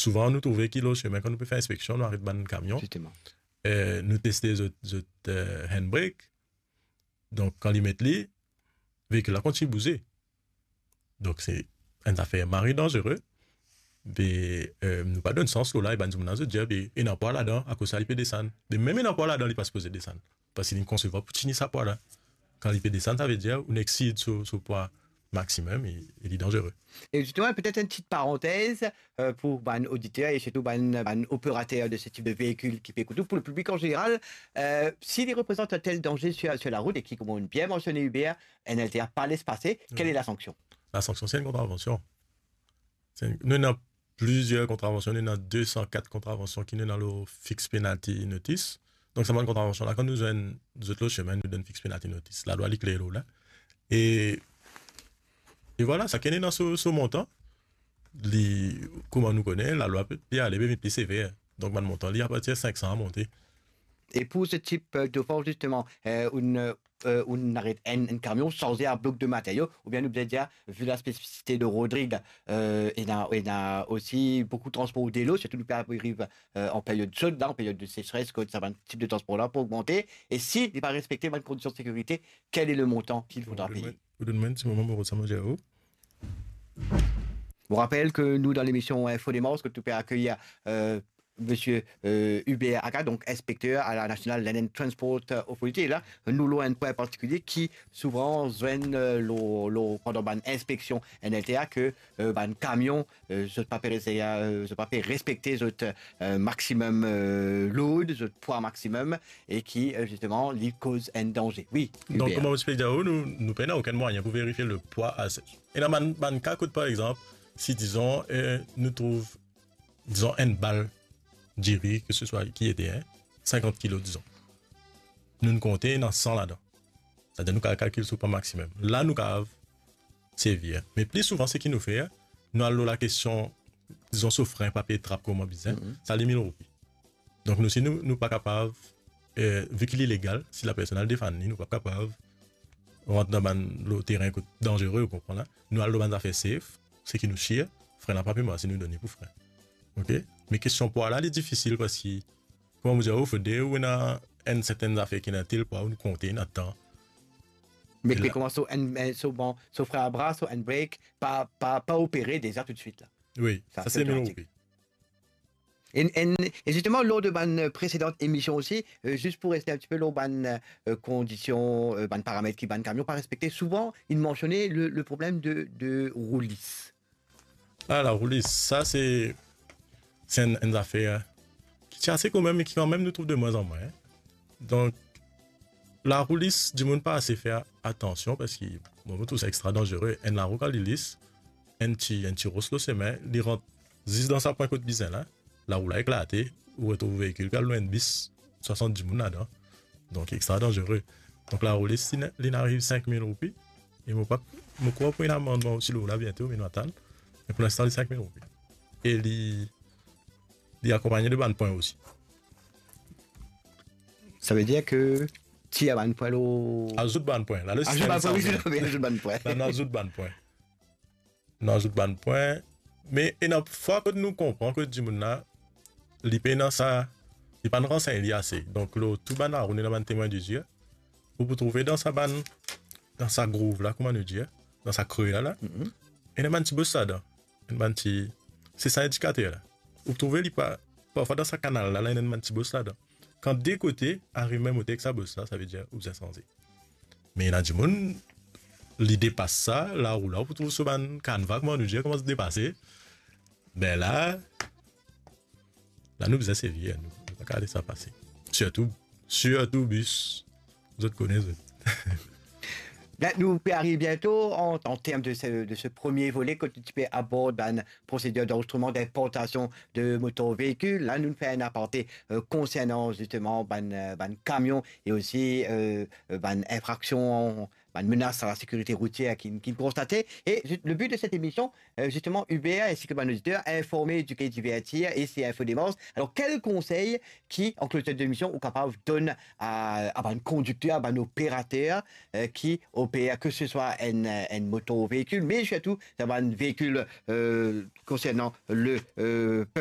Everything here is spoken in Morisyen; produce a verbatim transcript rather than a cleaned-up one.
Souvan, nou trouve ki lor semin, kan nou pe fer inspeksion, nou aret bann kamion, Zisteman. eh, nou teste zot, zot, eh, handbrake. Donk, kan li met li, veikil la kontign bouze. Donk, se enn zafer mari danzere. Be, eh, nou pa donn sans lor la, e bann dimoun la, zot dir, be, ena pwa ladan, akoz sa li pe desann. Be, mem ena pwa ladan, li pa sipoze desann. Parski li konsevwar pou tini sa pwa la. Kan li pe desann, savedir ou exid so, so pwa maximum e, e li danzere. E zisteman, petet enn ti parantez, eh, pou bann oditer e sirtou bann, bann operater de se tip de veikil ki pe ekout nou, pou le piblik an zeneral, eh, si li reprezant enn tel danze sir, sir larout e ki, kouma ou bien mansione, Hubert, N L T A pa les pase, kele lasanksion? Lasanksion, se enn kontravansion. Se enn, nou ena plizier kontravansion, nou ena de san kat kontravansion ki nou ena lor fix penalty notice. Donk, sa bann kontravansion la, kan nou zwenn zot lor semin, nou donn fix penalty notice. Lalwa, li kler lor la. E, e vwala, sakenn ena so, so montan. Li, kouma nou kone, lalwa pe, pe ale, pe vinn pli sever. Donk, bann montan, li apartir sink san a monte. E pou se tip, eh, dofans, zisteman, eh, ou, eh, ou aret enn, enn kamion, sanze a blok de materio, oubien nou bizin dir, vi la spesifisite de Rodrig, eh, ena, ena osi boukou transpor delo, sirtou nou pe ariv, eh, an period sod la, an period de seseres, kot sa bann tip de transpor la pou ogmante, e si li pa respekte bann kondision de sekirite, kele le montan ki fodra peye? Ou donn mwa enn ti moman, mo rod sa mo dir ou. Mo rapel ke nou dan lemision Info Démence, kot nou pe akeyir, eh, misie, eh, Hubert Aga, donk inspekter a la National Land and Transport Authority. La, nou lor enn pwin partikilie ki souvan zwenn, eh, lor, lor, pandan bann inspeksion N L T A ke, eh, bann kamion, eh, zot pa pe rese-, eh, zot pa pe respekte zot, eh, maximum, eh, load, zot pwa maximum, e ki, eh, zisteman, li koz enn danze. Wi, Donk, Hubert. Kouma mo ti pe dir ou, nou, nou pena okenn mwayin pou verifie le pwa a se-, ena bann, bann ka kot, par exanp, si, dizon, eh, nou trouv, dizon, enn bal diri, ke se swa ki ete, en, sinkant kilo, dizon. Nou'nn konte, ena san ladan. Setadir nou kav kalkil so pwa maximum. La, nou kav servi. Me pli souvan, seki nou fer, nou al lor lakestion, dizon, so fren pa pe trap kouma bizin, Mhm. sa li mil roupi. Donk, nou, si nou, nou pa kapav, eh, vi ki li legal, si lapersonn al defann li, nou pa kapav rant dan bann, lor terin kot danzere, ou konpran la. Nou al lor bann zafer safe, seki nou sir, fren la pa pe mars, nou donn li pou fren. Ok? Me kestion pwa la, li difisil parski, kouma mo dir ou, fode ou ena enn sertenn zafer ki ena tel pwa, ou konte, ena tan. Me E pe la koumans so enn, enn, so bon, so fren a bra, so handbrake, pa, pa, pa opere deza toutswit la. Wi, Sa, sa se se mil otomatik. roupi. E, e, e zisteman, lor de bann, eh, presedan emision osi, eh, zis pou reste enn ti pe lor bann, eh, kondision, eh, bann paramet ki bann kamion pa respekte, souvan, inn mansione le, le problem de, de roulis. Ah, la roulis, sa se, se enn, enn zafer ki ti ase kanmem, me ki kanmem nou trouv de mwin an mwin, en. Donk, la roulis, dimoun pa ase fer atansion parski, bon, mo trouv sa extra danzere. Enn larou kan li lis, enn ti, enn ti ros lor semin, li rant zis dan sa pwin kot bizin la, larou la eklate, ou retrouv veikil pe al lwin enn bis, swasant dimoun ladan. Donk, extra danzere. Donk, laroulis, li, li ariv sink mil roupi. E mo pa, mo krwar pou ena amannman osi lor la biento, me nou atann. Me pou linstan, li sink mil roupi. E li, li akonpagne de bann pwin osi. Savedir ke tir bann pwin lor Azout bann pwin. La, le Azout sistem bann pwin, wi, sanze. Azout bann pwin. La, nou azout bann pwin. Nou azout bann pwin. Me ena fwa kot nou konpran kot dimoun la, li pena sa, li pa'nn ransegn li ase. Donk, lor tou bann larou, ena bann temwin dizir, ou pou trouve dan sa bann, dan sa grouv la, kouma nou dir, dan sa kre la, la, Mhm. ena bann ti bos ladan. Enn bann ti, se sa indikater la. Ou trouve li pa, parfwa dan sa kanal la, la, ena enn bann ti bos ladan. Kan de kote ariv mem oter ek sa bos la, savedir ou bizin sanze. Me ena dimoun, li depas sa, larou la, ou pou trouv so bann kanva, kouma nou dir, koumans depase. Be la, la nou bizin servi, nou, nou pa kav les sa pase. Sirtou, sirtou bis, zot kone zot. Be, nou pe ariv biento an, an term de se, de se premie vole, kot nou ti pe abord bann prosedir d'anrezistreman dinportasion de motor veikil. La, nou fer enn aparte, eh, konsernan zisteman bann, eh, bann kamion e osi, eh, eh, bann infraksion, bann menas a la sekirite routier ki, ki konstate. E zis-, le bi de set emision, eh, zisteman, Hubert, ensi ki bann oditer, informe, edike, divertir, e se Info Démence. Alor, kel konsey ki, an klotir de lemision, ou kapav donn a, a bann kondikter, a bann operater, eh, ki oper, ke se swa enn, enn motor veikil, me sirtou dan bann veikil, eh, konsernan le, eh,